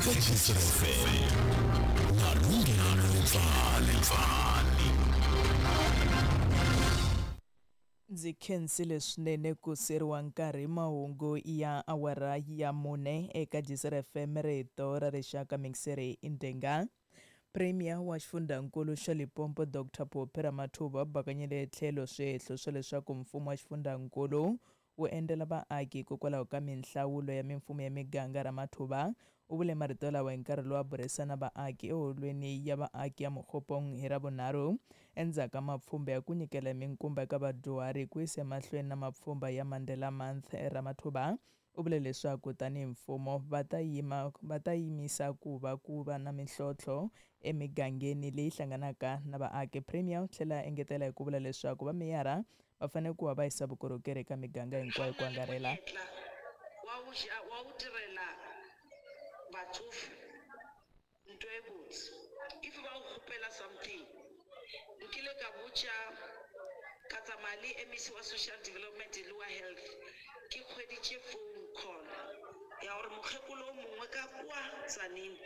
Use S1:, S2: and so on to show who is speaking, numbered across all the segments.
S1: Eka Gcina FM na Lunghelo Mpfani.
S2: Ndzi khensile swinene ku seriwa nkarhi mahungu ya awara ya mune eka Gcina FM rito ra rixaka mixeri Ndenga. Premier wa xifundzankulu xa Limpopo Dr Phophi Ramathuba bakanyile tlhelo swihehlo swa leswaku mfumo wa xifundzankulu wu endlela vaaki hikokwalaho ka minhlawulo ya mimfumo ya miganga. Ramathuba u vule marito lawa hi nkarhi lowu a burisana vaaki eholweni ya vaaki ya Mokgopong hi Ravunharhu endzhaku ka mapfhumba ya ku nyikela minkumba eka vadyuhari ku yisa emahlweni na mapfhumba ya Mandela Month. Ramathuba u vule leswaku tanihi mfumo va ta yima va ta yimisa ku va ku va na mintlhontlho emigangeni leyi hlanganaka na vaaki. Premier u tlhela a engetela hi ku vula leswaku vameyara va fanele ku va va yisa vukorhokeri eka miganga hinkwayo ku angarhela.
S3: Wa wu wa wu tirhela batsofe ntho e botse if ba o kgopela something nkile ka botša ka tsamaya le MEC wa social development le wa health ke kgweditše phone call ya gore mokgekolo o mongwe ka kwa Tzaneen.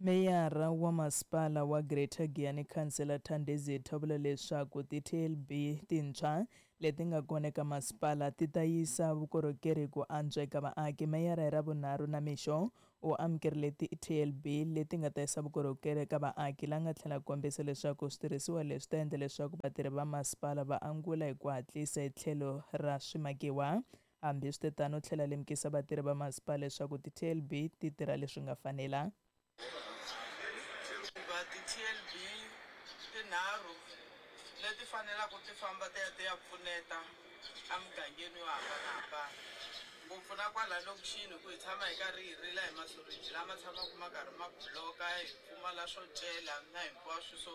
S2: Meyara wa masipala wa Greater Giyani Councillor Thandizitha u vula leswaku ti-TLB tintshwa leti nga kona eka masipala ti ta yisa vukorhokeri ku antswa eka vaaki. Meyara hi Ravunharhu namixo u amukerile ti-TLB leti nga ta yisa vukorhokeri eka vaaki la nga tlhela kombisa leswaku switirhisiwa leswi ta endla leswaku vatirhi va masipala va angula hi ku hatlisa hi tlhelo ra swimakiwa. Hambiswiritano u tlhela lemukisa vatirhi va masipala leswaku ti-TLB ti tirha leswi nga fanela.
S4: Va ti-TLB tinharhu leti fanelaka ti famba ti ya ti ya pfuneta emugangeni yo hambanahambana ngopfu na kwala lokixini hi ku hi tshama hi karhi hi rila hi masuriji lama tshamaka ma karhi ma block-a hi pfumala swo cela na hinkwaswo so.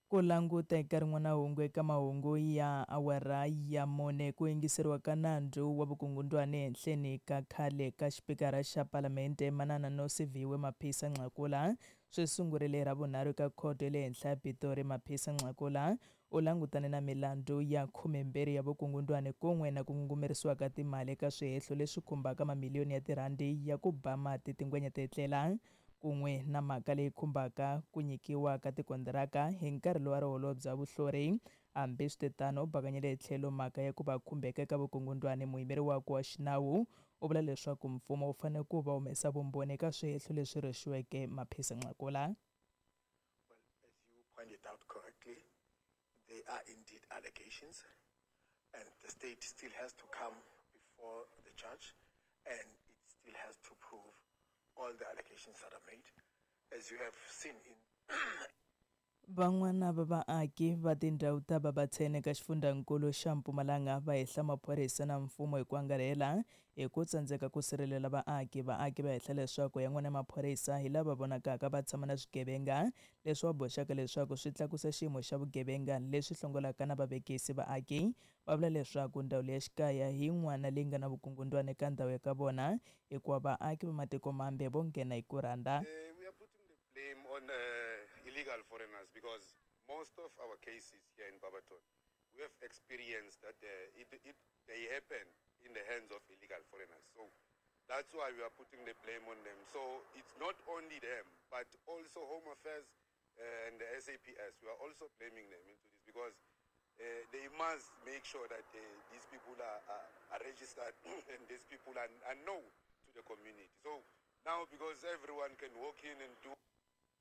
S2: Ku languta eka rin'wana hungu eka mahungu ya awara ya mune ku yingiseriwa ka nandzu wa vukungundwani ehenhleni ka khale ka xipikara xa Palamende Manana Nosiviwe Mapisa Nqakula swi sungurile hi Ravunharhu eka khoto ya le henhla ya Pitori. Mapisa Nqakula u langutane na milandzu ya 12 ya vukungundwani kun'we na ku ngungumerisiwa ka timali eka swihehlo leswi khumbaka mamiliyoni ya tirhandi ya ku ba mati tingwenya ti etlela kun'we na mhaka leyi khumbaka ku nyikiwa ka tikontiraka hi nkarhi lowu a ri holobye wa vuhlori. Hambiswiritano, u bakanyile hi tlhelo mhaka ya ku va khumbeka eka vukungundwani. Muyimeri wakwe wa xinawu u vula leswaku mfumo wu fanele ku va humesa vumbhoni eka swihehlo leswi rhwexiweke Maphisa Nqakula.
S5: Well, as you pointed out correctly, they are indeed allegations, and the state still has to come before the judge, and it still has to prove all the allegations that are made. As you have seen in
S2: Van'wana va vaaki va tindhawu ta Babatsene eka xifundzankulu xa Mpumalanga va hehla maphorisa na mfumo hi ku angarhela hi ku tsandzeka ku sirhelela vaaki. Vaaki va hehla leswaku yan'wana ya maphorisa hi lava vonakaka va tshama na swigevenga leswi va boxaka leswaku swi tlakusa xiyimo xa vugevenga leswi hlongolaka na vavekisi. Vaaki va vula leswaku ndzawulo ya xikaya hi yin'wana leyi nga na vukungundwani eka ndhawu ya ka vona hikuva vaaki va matiko mambe vo nghena hi ku rhandza.
S6: We are putting the blame on illegal foreigners because most of our cases here in Barberton, we have experienced that they happen in the hands of illegal foreigners. So that's why we are putting the blame on them. So it's not only them, but also Home Affairs and the SAPS. We are also blaming them into this because they must make sure that these people are registered and these people are known to the community. So now because everyone can walk in and do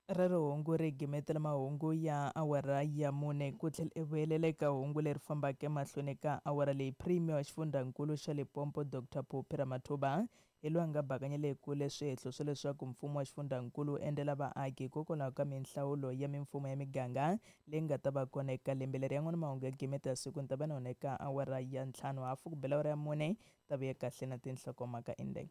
S2: Rero hungu ri gimetela mahungu ya awara ya mune ku tlhela i vuyelela eka hungu leri fambaka emahlweni ka awara leyi. Premier wa xifundzankulu xa Limpopo Dr Phophi Ramathuba hi loyi a nga bakanyela ekule swihehlo swa leswaku mfumo wa xifundzankulu wu endlela vaaki hikokwalaho ka minhlawulo ya mimfumo ya miganga leyi nga ta va kona eka lembe leri. Yan'wana mahungu ya gimeta ya siku ni ta va na wona eka awara ya 5:30 ku bela awara ya 4 ta vuya kahle na tinhlokomhaka indeng.